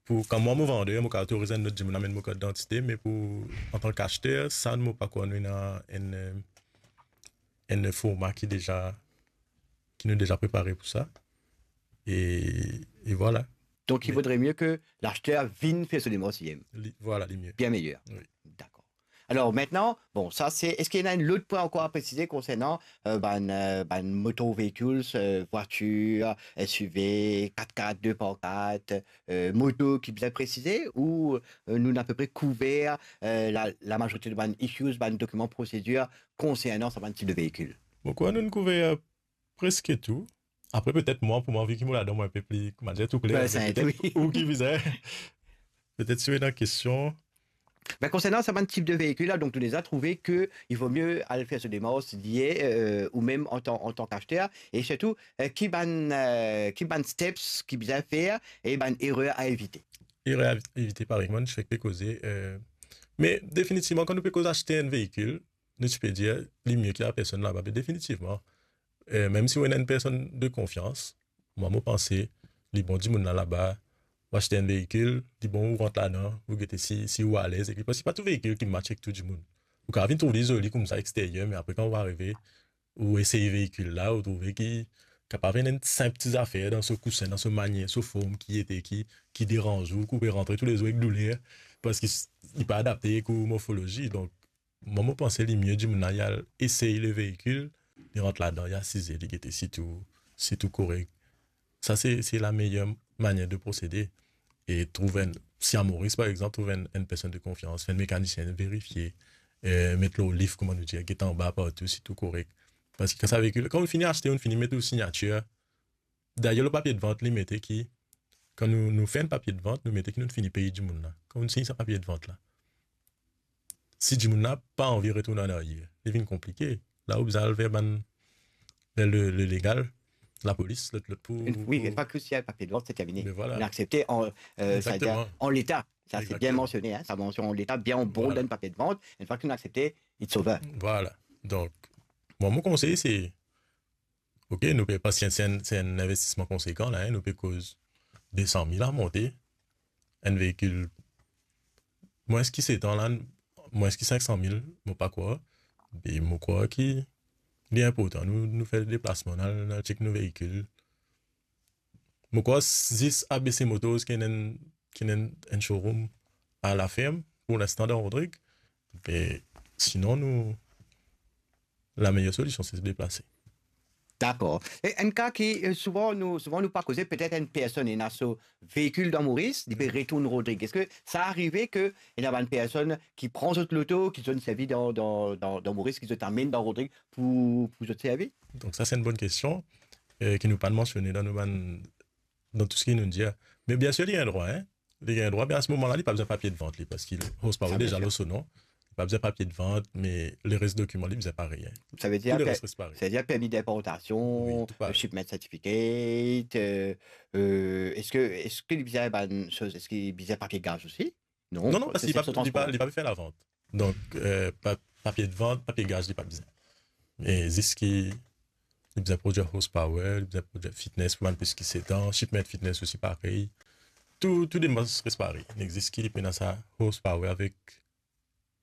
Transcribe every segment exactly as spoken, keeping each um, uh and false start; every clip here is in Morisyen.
pou, kan mwa mo vander, mo kapav otoriz enn lot dimoun amenn mo kat didantite, me pou, antan ki aster, sa mo pa krwar nou ena enn, enn forma ki deza, ki nou deza prepare pou sa. E, e vwala. Donc, il vaudrait mieux que l'acheteur vienne faire son démarche lui-même. Li, vwala, li mie. Bien meilleur. Wi. D'accord. Alors maintenant, bon, ça c'est, est-ce qu'il y en a un autre point encore à préciser concernant euh, bann, euh, bann moto véhicules, euh, voiture, S U V, quatre-quatre, deux par quatre, euh, moto ki bizin presize ou euh, nou ena apeprè kouver euh, la, la majorite de bann issues, bann dokiman prosedir konsernan sa bann tip de véhicule? Bon, kwa, nou kouver preske tou. Apre, petet mwa, pou mwa, vi ki mo ladan, mo enpe pli, koumadir, tou kler, Ouais, c'est un petet truc. Ou ki bizin. Petet si ou ena kestion. Ben, concernant sa bann tip de véhicule la, donc nou deza trouve ke il vaut mieux aller faire sa démarche lié euh, ou même en tant, en tant qu'acheteur. Et surtout, euh, ki bann, euh, ki bann steps ki bizin fer e bann erreur à éviter. Erreur à éviter, parey, mwa, nou ti fek pe koze. Euh, me definitivman, kan nou pe koz aste enn veikil, nou ti pe dir, li mie ki la personn laba, me definitivman, euh, mem si ou ena enn personn de konfians, mwa, mo panse, li bon dimoun la laba, ou aste enn veikil, li bon ou rant ladan, ou gete si, si ou alez ek li. Parski pa tou veikil ki match ek tou dimoun. Ou kapav vinn trouv li zoli koumsa exteryer, me apre kan ou arive, ou esey veikil la, ou trouve ki kapav ena enn sinp ti zafer dan so kousin, dan so manier, so form ki ete, ki, ki deranz ou, ki ou pe rantre toulezour ek douler, parski s-, li pa adapte ek ou morfolozi. Donk, mwa, mo panse li mie dimoun la, li al esey le veikil, li rant ladan, li asize, li gete si tou, si tou korek. Sa, se, se la meyer manier de prosede. E trouv enn, si a Moris, par exanp, trouv enn, enn personn de konfians, fer enn mekanisien verifie, eh, met lor lif, kouma nou dir, get anba partou, si tou korek. Parski kan sa veikil, kan ou fini aste, ou fini met ou signatir, dayer, lor papie de vant, li mete ki, kan nou, nou fer enn papie de vant, nou mete ki nou fini pey dimoun la. Kan ou sign sa papie de vant la, si dimoun la pa anvi retourn an aryer, li vinn konplike. La, ou bizin al ver bann, ver le, le legal, lapolis, lot, lot pou, Une- oui, pou- une fois que c'est un papier de vente, c'est terminé. Mais voilà. On a accepté en, euh, ça veut dire Exactement. En l'état. Ça, c'est bien Exactement. Mentionné, hein, sa mension en l'état, bien au bon Voilà. d'un papier de vente. Une fois qu'on a accepté, it's over. Vwala. Donk, mwa, mo konsey, se, ok, nou pe, parski se enn, se enn investisman konsekan la, hein, nou pe koz de san mil a monte, enn veikil, mwins ki set an la, mwins ki sink san mil, mo pa krwar, me mo krwar ki li inportan nou, nou fer deplasman, nou al, nou al chek nou veikil. Mo krwar zis A B C Motors ki ena enn, ki ena enn, enn showroom a La Ferme, pour l'instant, dan Rodrig. Me sinon, nou, la meyer solision, se deplase. D'accord. E enn ka ki euh, souvan nou, souvan nou pa koze, petet enn personn ena so veikil dan Moris, li pe retourn Rodrig. Eski sa arive ke ena bann personn ki pran zot loto, ki zot servi dan, dan, dan, dan Moris, ki zot amenn dan Rodrig pou, pou zot servi? Donk sa, se enn bonn kestion, eh, ki nou pa mansione dan nou bann, dan tou seki nou dir. Me bien sir, li gagn drwa, hein. Li gagn drwa, me a se moman la, li pa bizin papie de vant, li, parski horsepower Sa, bien deza sir. Lor so non. Li pa bizin papie de vant, me leres dokiman, li bizin parey, hein. Sa ve dir Tou leres per- res parey. C'est-à-dire permis d'importation, Oui, tout pareil. shipment certificate, euh, euh, est-ce que, est-ce que bizin bann soz, est-ce que bizin papie gaz aussi? Non, Non, non, parski li pa, c'est son li pa, transport. Li pa fer lavant. Donk, eh, pa, papie de vant, papie gaz, li pa bizin. Me zis ki li bizin prodwir horsepower, li bizin prodwir fitness pou bann plis ki set an, shipment fitness osi parey. Tou, tou demars res parey. Li zis ki li pena sa horsepower avek,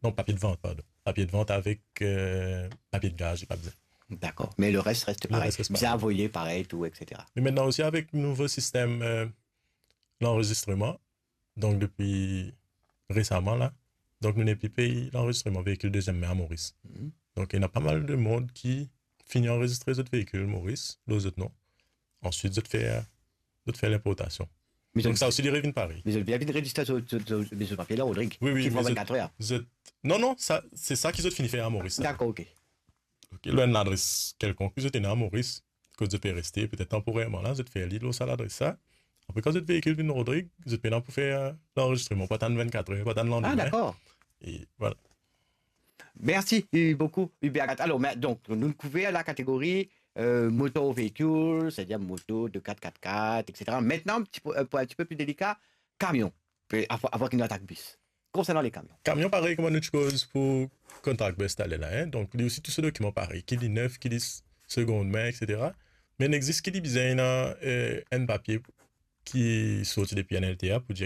non, papie de vant, pardon. Papie de vant avek, eh, papie de gaz, li pa bizin. D'accord. Mais le reste reste Le pareil. reste reste Bizin pareil. Avoye pareil, tout, et cetera. Me aster osi, avek nouvo sistem, eh, lanrezistreman, donk depi resaman la, donk nou nepli pey lanrezistreman veikil deziem min a Moris. Mhm. Donk ena pa mal de mond ki fini anrezistre zot veikil Moris lor zot non. Answit, zot fer, zot fer linportasion. Mais Donk zot- sa osi, li revinn parey. Mais zot bien vinn rezistre sur, sur, sur, sur papier là, Rodrigue. Oui, oui, Qui me prend zot, vingt-quatre heures. zot, non, non, sa, se sa ki zot fini fer a Moris la. D'accord, ok. Ok, lor enn ladres kelkonk ki zot ena a Moris, kot zot pe reste, petet tanporerman la, zot fer li lor sa ladres la. Apre, kan zot veikil vinn Rodrig, zot pena pou fer, eh, lanrezistreman, pa atann vingt-quatre heures, pa atann Ah, landime. D'accord. E vwala. Merci euh, beaucoup, Hubert Agathe. Alors, mais, donc, nou kouver la kategori euh, motor véhicule, c'est-à-dire moto, deux quatre, quatre quatre, et cetera. Maintenant, un petit peu, euh, pour un petit peu plus délicat, camion. Puis, avant, avant qu'il nous attaque bus. Concernant les camions. Kamion, parey, kouma nou ti koz pou Contractbest taler la, hein. Donk, li osi, tou so dokiman parey, ki li nef, ki li s-, segond min, et cetera. Me li existe ki li bizin ena, eh, enn papie ki sorti depi N L T A pou dir